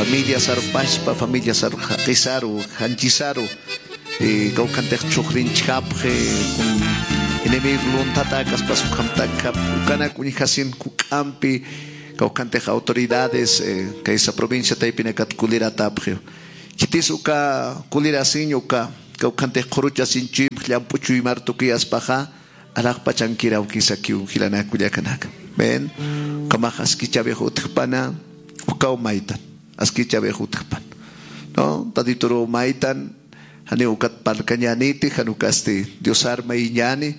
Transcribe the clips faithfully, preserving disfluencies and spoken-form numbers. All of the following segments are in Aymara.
Familia sarpaspa, familia sarqisaru, janchisaru, kawkhantex chhuxrinchkapxi, enemigo lunthatäkaspas ukhamtakap ukanak uñjasin juk'ampi. Kawkhantex autoridades kaysa provincia taypinakat kuliratapxiw. Khitis uka kulirasiñ uka kawkhantex qhuruchasiñ chuymx llamp'u chuymar tukuyaspaxa, alaxpachankiraw kisakiw jilanaka kullakanaka. Ven, ukhamax askichawix utjpana. Ukaw maytan askichawix utjpan, no, tatituruw maytan. Janiw ukat parlkañäniti, jan ukasti diosar mayiñäni.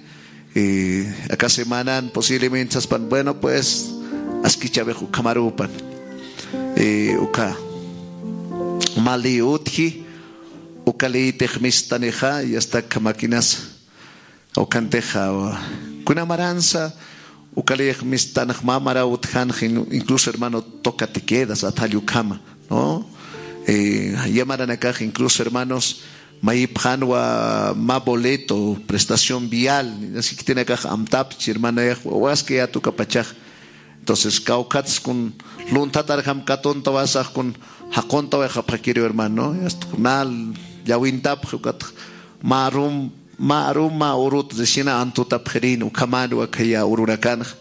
Aka semanan posiblemente saspan, bueno, pues askichawix ukhamarupan. Uka mä ley utji. Uka leytix mistanixa y asta kamakinas. Ukhantixa kuna maransa uka leyix mistanax mä maraw utjanxa, incluso hermano toca te quedas athallukama, no. Yamaranakax incluso hermanos mayipxanwa mä boleto prestación vial, nasiktinakax amtapchi hermanayax wawaskayätukapachax. Entonces kawkhatskun lunthatarjam katuntawasaxkun jaquntawaxapxakiriw hermano, yastxnal llawintapxi ukatx mä arum mä arum mä urut resina antutapxirin ukhamanwa khaya urunakanxa,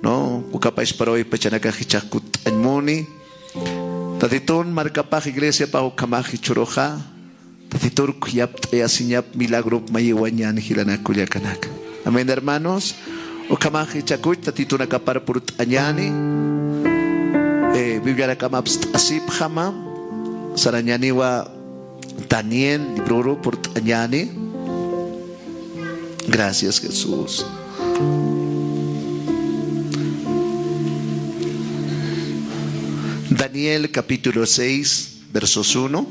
no. Ukapachparaway pachanakax jichhax kutt'añmuni. Tatitun markapax iglesiapax ukhamax jichhuruxa tatitur khuyapt'ayasiñap milagrop mayiwañan jilanak kullakanaka. Amén hermanos. Ukhamax jichhakuch tatitunakapar purt'añani. Bibliarakam apst'asipxama. Sarañaniwa daniel libruru purt'añani. Gracias jesús. Daniel capítulo seis versos uno.